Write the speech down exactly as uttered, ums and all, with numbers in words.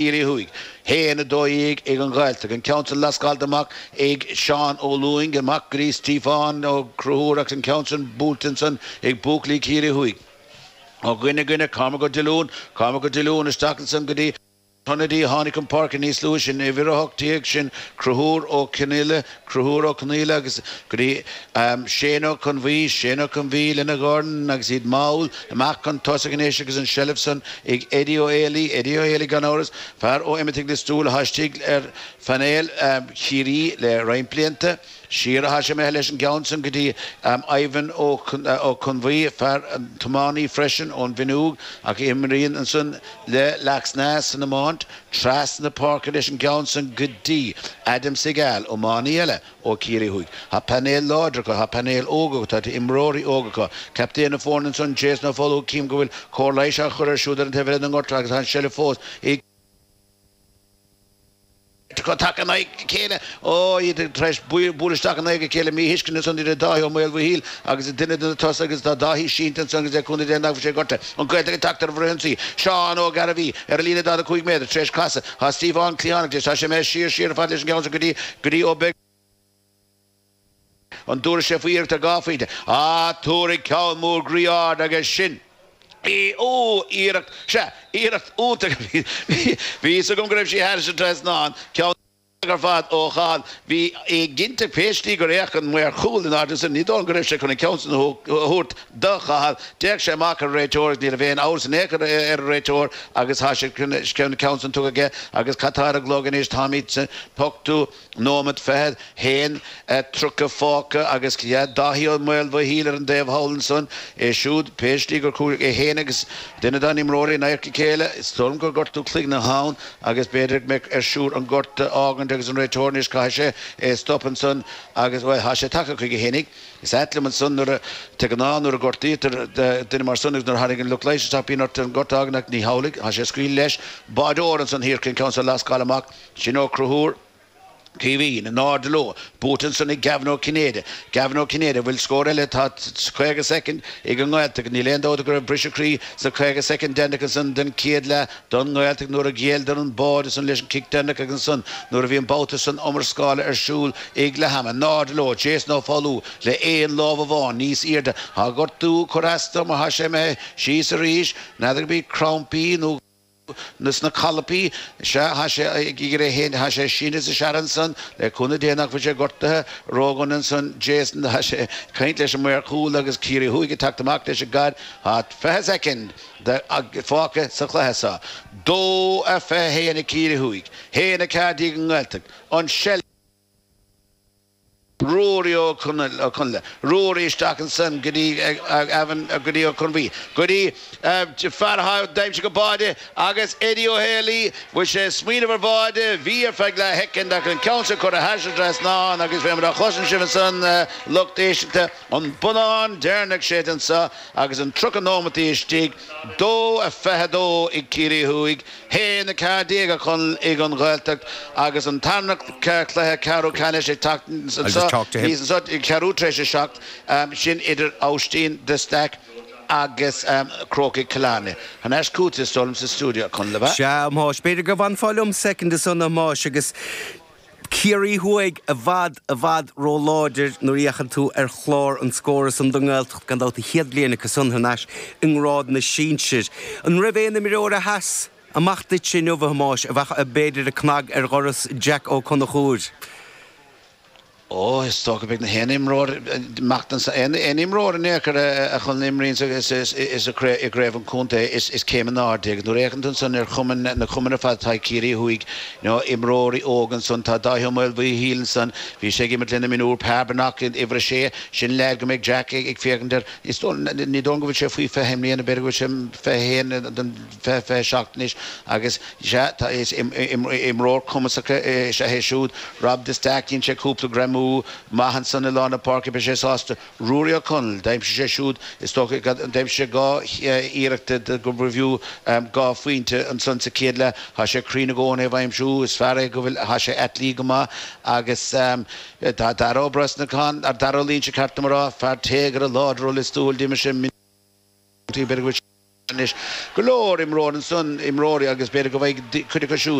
Ciarraí Thuaidh, haon a dó dhéag ag an Ghaeltacht. An ceann san lascáilte amach ag Seán Ó Lúing, amach go dtí Stiofán Ó Conchúir agus an ceann san buailte ansan ag buachaillí Chiarraí Thuaidh. Ó dhuine go dhuine, Cormac Ó Diolúin, Cormac Ó Diolúin isteach ansan go dtí hionadaí a tháinig chun páirce níos luaithe, sin uimhir a hocht déag, sin Conchúr Ó Conghaile, Conchúr Ó Conghaile agus go dtí Shane Ó Conbhuí, Shane Ó Conbhuí lena dhorn agus iad mall amach chun tosaigh anois agus an tseilbh san ag Eddie Ó Héalaí, Eddie Ó Héalaí gan amhras, fear ó Imataigh Lios Tuathail atá istigh ar phainéal Chiarraí le roinnt blianta. Siar atá sé imithe leis an gceann san go dtí Ivan Ó Conbhuí, fear tiománaí freisin ón bhFionnúig ach a imríonn ansan le Laxness san iomáint. Trasna páirce leis an gceann san go dtí Adam Segal, iománaí eile ó Chiarraí Thuaidh. Tá painéal láidir acu, tá painéal óg acu, tá imreoirí óga acu. Captaen na foirne ansan, Jason Ó Foghlú, cím go bhfuil cóir leighis á chur air siúd ar an taobh eile den ngort agus tá an seilbh fós ag. acu tagtha in aghaidh a chéile. Ó, iad tar éis bualadh isteach in aghaidh a chéile, míthuiscint ansan idir Dáithí Ó Maolmhaoil agus duine de na tosaithe agus tá Dáithí sínte ansan agus le cúnamh Dé nach bhfuil sé gortaithe. An Ghaeltacht ag teacht ar an bhfrithionsaí. Seán Ó Gairbhí ar an líne daichead a cúig méadar tar éis casadh. Tá Stiofán cliathánach leis. Tá sé imithe siar, siar ar fad leis an gceann san go dtí, go dtí Ó Beaglaoich. An dtabharfaidh sé faoi iarracht ar dhá phointe? Á, tabharfaidh ceann mór groí ard agus sin í. Ó, iarracht, sea, iarracht iontach a bhí, bhí fhios agam go raibh sí thairis an trasnán. Ceann iontach ar fad ó Chathal. Bhí éiginnte pé slí gur fhéach an maor cúil in airde ansin, ní dóigh liom go raibh sé chun an ceann sin a thabhairt do Chathal. D'fhéach sé amach ar an réiteoir agus ní raibh aon amhras in aon chor ar an réiteoir agus tá sé chun an ceann sin tugtha aige agus cad tá ar an gclog anois? Táimid san ochtú nóiméad fiche haon tríocha fágtha agus Dáithí Ó Maolmhaoil ar an dtaobh thall ansan, é siúd, pé slí gur chuaigh é féin agus duine dá n-imreoirí in adharca a chéile, is dóigh liom gur gortú cloigne atá ann agus b'fhéidir go mbeadh air siúd an gort a fhágaint agus an réiteoir anois, caithfidh sé é a stop ansan agus, bhuel, tá sé tagtha chuige fhéinig. Is ait liom ansan nuair a, de ghnáth nuair a gortaítear duine mar san agus nuair a thagann lucht leighis isteach bíonn ort an gort a fhágaint ach ní hamhlaidh, tá sé ag scaoileadh leis. Báireoir ansan thiar chun an ceann seo a lascáil amach, sin Ó Conchúir. Caoimhín, in airde leo, buaite ansan ag Gavin Ó Cinnéide. Gavin Ó Cinnéide, bhfuil scór eile? Tá caoga soicind ag an nGaeltacht. Níl aon dabht go raibh briseadh croí sna caoga soicind deireanach ansan den chéad leath don nGaeltacht nuair a ghéilleadar an báide san leis an cic deireanach agus ansan nuair a bhí an babhta san iomrascála ar siúl ag leath ama. In airde leo, Jason Ó Foghlú le aon lámh amháin níos airde. Tá gortú ag cur as dó mar tá sé imithe síos arís. N'fheadar gurb iad crampaí nó. sna calapaí. Sea, thá sé ag iarraidh é féin, thá sé sínte is ag searradh ansan, le cúnamh Dé nach bhfuil sé gortaithe ródhona ansan, Jason, thá sé ag caint leis an maor cúil agus Ciarraí Thuaidh ag teacht amach leis an gcaid, thá fiche soicind fágtha sa chluiche seo. Dó a fiche a haon ag Ciarraí Thuaidh, haon a ceathair déag ag an nGaeltacht. An seilbh. Ruairí Ó Conghaile, Ruairí isteach ansan go dtí Evan, go dtí Ó Conbhuí, go dtí fear atá d'aimsigh an báide agus Eddie Ó Héalaí, bhfuil sé ag smaoineamh ar bháide, bhí ar feadh leath shoicind ach an ceann seo curtha thairis an trasnán agus fé mar a chloiseann sibh ansan lucht éisteachta an bonnán deireanach séidte anso agus an tríocha nóimeataí istigh, dó a fiche a dó ag Ciarraí Thuaidh. haon a ceathair déag a Chonaill ag an Ghaeltacht agus an tarna cluiche ceathrú ceannais ag teacht anso níos anso ag ceathrú tar éis a seacht, sin idir Aibhistín de Staic agus Crócaigh Chill Airne. Thar n-ais chugat is dóigh liom sa stiúideo, a Chonaill, ab ea? Sea, a Thomáis. B'fhéidir go bhfanfá liom soicind ansan, a Thomáis, agus Ciarraí Thuaidh i bhfad, i bhfad ró-láidir nuair a fhéachann tú ar chlár an scóir ansan don nGaeltacht, gan dabht, an chéad bhliain acu san thar n-ais i ngrád na sinsir. An raibh aon imreoir a sheas amach duitse inniu, a Thomáis, a bheadh, b'fhéidir, ag cnag ar dhoras Jack Ó Conchúir? Ó, is dócha beidh na haon imreoir amach anso, aon imreoir in aon chor a Chonaill a imríonn sa i gcraobh an chontae, is céim in airde é. Agus nuair a fhéachann tú ansan ar chumainn, na cumainn ar fad atá ag Ciarraí Thuaidh, you know, imreoirí óga ansan, tá Dáithí Ó Maolmhaoil ansan, bhí sé ag imirt le na mionúir, Pearbanach, uimhir a sé, sin leaid go mbeidh Jack ag féachaint air. Is dóigh, ní dóigh liom go bhfuil sé faoi fiche i mbliana, b'fhéidir go bhfuil sé fiche a haon don fiche, fiche a seacht anois agus sea, tá, is imreoir cumasach is ea é siúd. Rob de Staic, dhein sé cúpla greamú maith ansan i lár na páirce, beidh sé sásta. Ruairí Ó Conaill, d'aimsigh sé siúd, is dócha, d'aimsigh sé dhá iarracht go mb'fhiú dhá phointe ansan sa chéad leath. Tá sé cruinn i gcónaí ó thaobh aimsiú, is fear é go bhfuil, tá sé athleach go maith agus tá Dara Ó Brosnacháin, Dara Ó Loingsigh, ceart dom a rá, fear téagartha láidir ó Lios Tuathail, d'imir sé, b'fhéidir go bhfuil Anois go leor imreoir ansan, imreoirí, agus b'fhéidir go bhfaighidh cuid acu siúd.